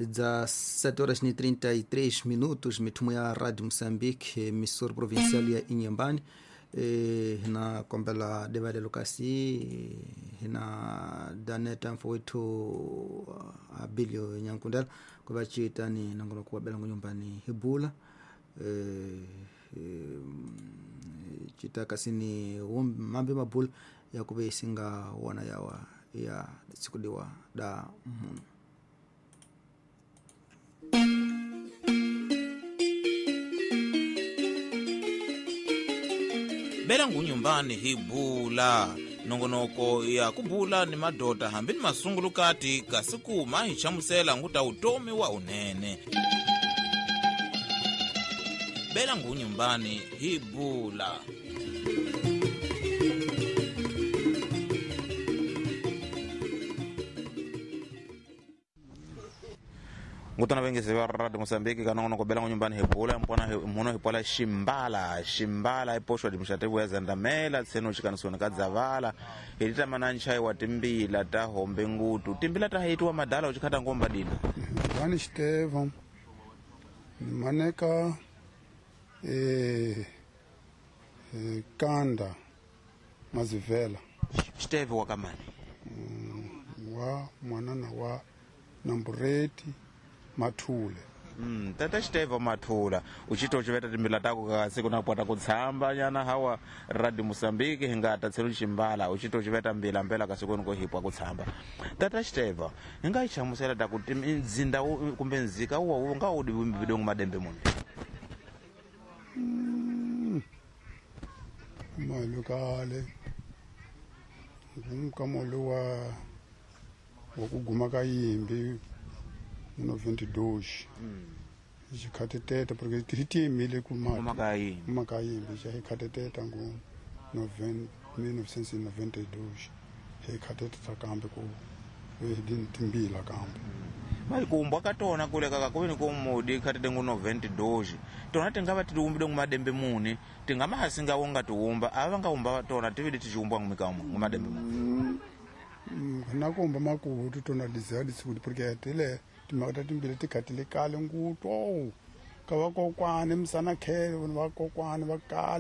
17 horas e 33 minutos, mitumo ya Rádio Moçambique, emissora provincial ya Inhambane. Hina kombela devalelo kasi hina daneta mfowethu Abilio Nyankundela kuva chiitani nongono kuwabela nyumbani hibula cita kasini mambi mabula yakuve isinga wona yawa ya sikudiwa da munu. Bela ngunyumbani hibula nongonoko ya kubula ni madota hambi ni masungulukati kasi kuma hi chamusela nguta utomi wa unene. Bela ngunyumbani hibula. Ngutana vengezi va Radio Mozambique kanongono kubela ngunyumbani hibula mpona muno hipola ximbala ximbala ipoxwa dimxatevu ya zandamela tseno xikanisoni ka dzavala hi tamana nchayi wa timbila ta hombe ngutu timbila ta hitiwa madala uchikhata ngomba dina vani xiteva ni maneka kanda mazivela xiteve wa kamani wa mwanana wa nambureti Mathule. Tata xiteva Mathula uchito uchiveta timbila tako kasi kuna pwata kutshamba nyana hawa Radio Mozambique hingata tselo ximbala uchito uchiveta mbila mbela kasi koni ko hipwa kutshamba. Tata xiteva hinga ichamusela ta ku nzinda kumbe nzika uwa wu nga udi vidongo madembe muni. Malukale ngumkamolo wa wakuguma ka yimbi 92 xikhateteta porque ti yimile ku makayimbi xa xikhateteta ngu 1992 xikhateteta kambe ku timbila kambe maikumbwa ka tona kule kaka kuve ni ku mudi khatete ngu 92 tona tingava titiumbile ngu madembe muni tingamahasi nga wonga tiumba ava va nga umba tona tivile ticiumbwa ngu madembe muni na kumba makutu tona lizalisikuti porque tile timhaka ta timbila ti khatile kale ngutu ka vakokwani misana khele vanhu vakokwani va kale.